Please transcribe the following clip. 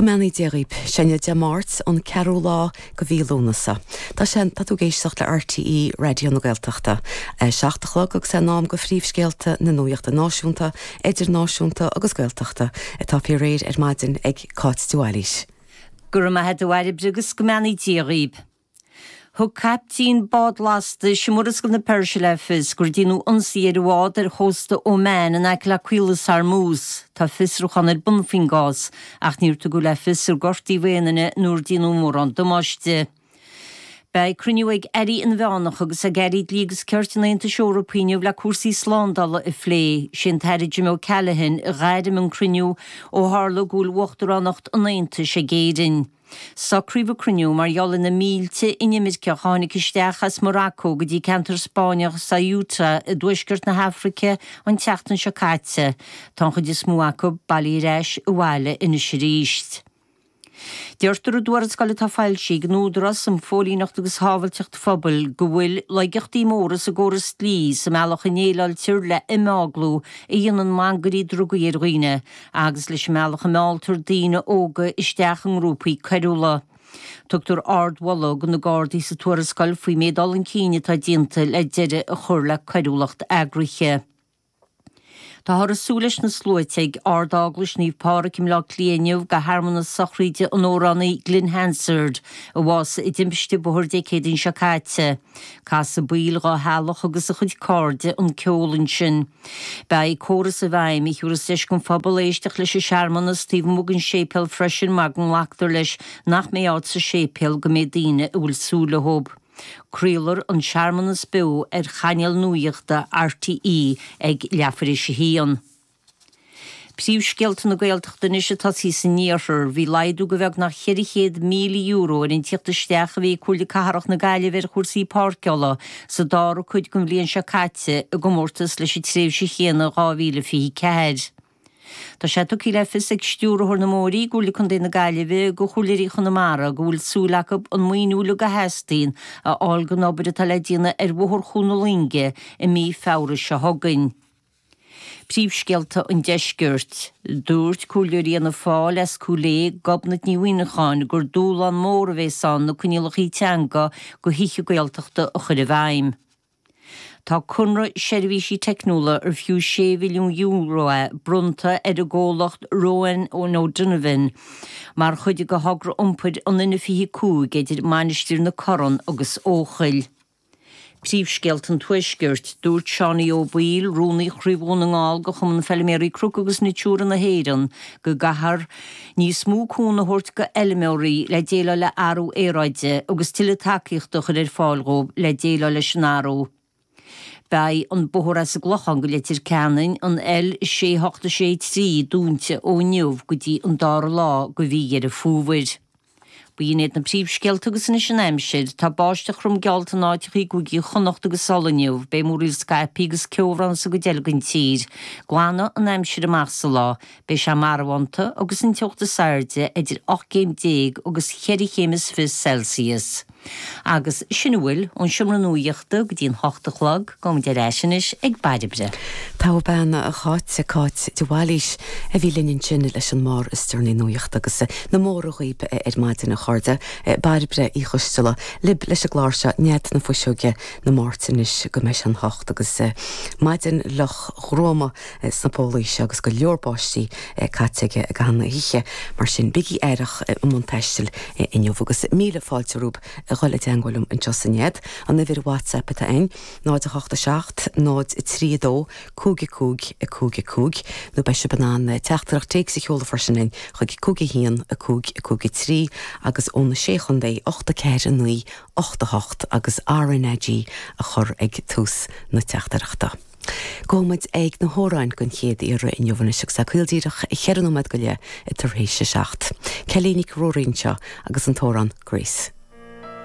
Go mbeannaí Dia dhaoib. Sé inniu Dé Máirt, an ceathrú lá go mhí Lúnasa. Tá sé, tá tú ag éisteacht le RTÉ Raidió na Gaeltachta. A 7 a chlog agus é in am go phríomhscéalta na nuachta náisiúnta, idirnáisiúnta agus Gaeltachta atá faoi réir ar maidin ag Cáit de Bhailís. Go raibh maith a't a Bhairbre agus go mbeannaí Dia dhaoib. Thug caiptín bád lastais i Murascaill na Peirse le fios gur déanadh ionsaí ar a bhád ar chósta Oman in aice le Caolas Hormuz. Tá fiosrúchán ar bun faoin gcás ach níor tugadh le fios ar gortaíodh aon duine nó ar déanadh mórán damáiste. Beidh cruinniú ag airí inmheánacha agus ag airí dlí agus cirt an Aontais Eorpaigh inniu le cúrsaí slándála a phlé. Sé an tAire Jim O'Callaghan a ghairm an cruinniú ó tharla go bhfuil uachtaránacht an Aontais ag Éirinn. Socraíodh an cruinniú mar gheall ar na mílte inimirceach a tháinig isteach as Morocco go dtí ceantar Spáinneach Ceuta i dtuaisceart na hAfraice an tseachtain seo caite. Tá an chuid is mó acu bailithe ar ais abhaile anois arís. Deirtear i dtuarascáil atá foilsithe ag an Údarás um Phóilíneacht agus Shábhailteacht Phobail go bhfuil laigeachtaí móra sa gcóras dlí sa mbealach a ndéileáiltear le himeaglú a dhéanann mangairí drugaí ar dhaoine agus leis an mbealach a mealltar daoine óga isteach i ngrúpaí coiriúla. Tugtar ardmholadh do na Gardaí sa tuarascáil faoin méid dul chun cinn atá déanta le deireadh a chur le coiriúlacht eagraithe. Táthar ag súil leis na sluaite ag Ard-Eaglais Naomh Pádraig i mBleá Cliath inniu do shearmanas sochraíde an amhránaí Glen Hansard, a bhásaigh i dtimpiste bóthair Dé Céadaoin seo caite. Casfaidh baill dá theaghlach agus a chuid cairde an ceol ansin. Beidh córas i bhfeidhm a thiúrfas deis don phobal éisteacht leis an searmanas taobh amuigh den séipéal freisin mar go nglactar leis nach mbeidh áit sa séipéal go méid daoine a bhfuil súil leo. Craolfar an searmanas beo ar chainéal nuachta RTÉ ag leathuair théis a haon. Príomhscéalta na Gaeltachta anois ag tosaí san iarthar. Bhí laghdú de bheagnach €400,000 ar an tíocht isteach a bhí ag Comhairle Cathrach na Gaillimhe ar chúrsaí páirceála sa dara cuid den bhliain seo caite i gcomórtas leis an tréimhse chéanna in 2024. Tá sé tugtha le fios ag Stiúrthóir na mBóithre i gComhairle Contae na Gaillimhe do Chomhairleoirí Chonamara go bhfuil súil acu an maoiniú uilig a theastaíonn a fháil don obair atá le déanamh ar Bhóthar Chuan na Loinge i mí Feabhra seo chugainn. Príomhscéalta an Deiscirt. Dúirt Comhairleoirí Fhianna Fáil as Cúil Aodha, Gobnait Ní Mhuineacháin, gur dúshlán mór a bhéas ann na coinníollacha teanga do thithe Gaeltachta a chur i bhfeidhm. Tá conradh seirbhísí teicniúla ar fiú €6 mhilliún é bronnta ar an gcomhlacht Rowan O'Donovan mar chuid de thogra iompair an N25 idir Mainistir na Corann agus Eochaill. Príomhscéalta an Tuaiscirt, Dúirt Seánie Ó Baoill, Rúnaí Chraobh Dhún na nGall de Chumann Feilméaraí Cnoc agus Natura na hÉireann, go gcaithfear níos mó cúnamh a thabhairt do fheilméaraí le déileáil le athrú aeráide agus tuilleadh tacaíochta a chur ar fáil dhóibh le déileáil leis an athrú. Beidh an bóthar as an gClochán go Leitir Ceanainn, an L6863, dúnta ó inniu go dtí an dara lá de mhí Dheireadh Fómhair. B'in iad na príomhscéalta agus anois an aimsir. Tá báisteach throm geallta in áiteacha i gcúigí Chonnacht agus Uladh inniu. Beidh múraíl scaipthe agus ceobhrán sa gcuid eile den tír. Glanfaidh an aimsir amach sa lá. Beidh sé marbhánta agus an teocht is airde idir 18 céim agus cheithre chéim is 20 Celsius. Agus sin a bhfuil ón seomra nuachta go dtí an hocht a chlog. Gabhaimid ar ais anois ag Bairbre. Togha bean a Cháit, Cáit de Bhailís a bhí linn ansin leis an mbarr is deireanaí nuachta agus na móra dhaoib ar maidin a chairde. Bairbre Uí Choisteala libh leis an gclár seo Nead na Fuiseoige na Máirt anois go mbeidh sé an hocht agus maidin fhliuch ghruama sna pólaí seo agus go leor báistí caite aige i gcaitheamh na hoíche. Mar sin, bígí aireach i mbun taistil inniu agus míle fáilte romhaibh a dhul i dteangmháil liom anseo sa Nead. An uimhir WhatsApp atá ann, 0 8 7 0 3 2 5 5 5 5 nó beidh sibh in ann teachtaireacht téacs a sheoladh freisin linn chuig 5 1 5 5 3 agus ó na Sé Chontae 8 4 9 8 8 agus RnaG a chur ag tús na teachtaireachta. Gabhfaidh muid ag na hamhráin den chéad iarraidh inniu anois agus é caol díreach cheithre nóiméad go leith tar éis a 7. Kelly Nic Ruairí anseo agus an t-amhrán Grace.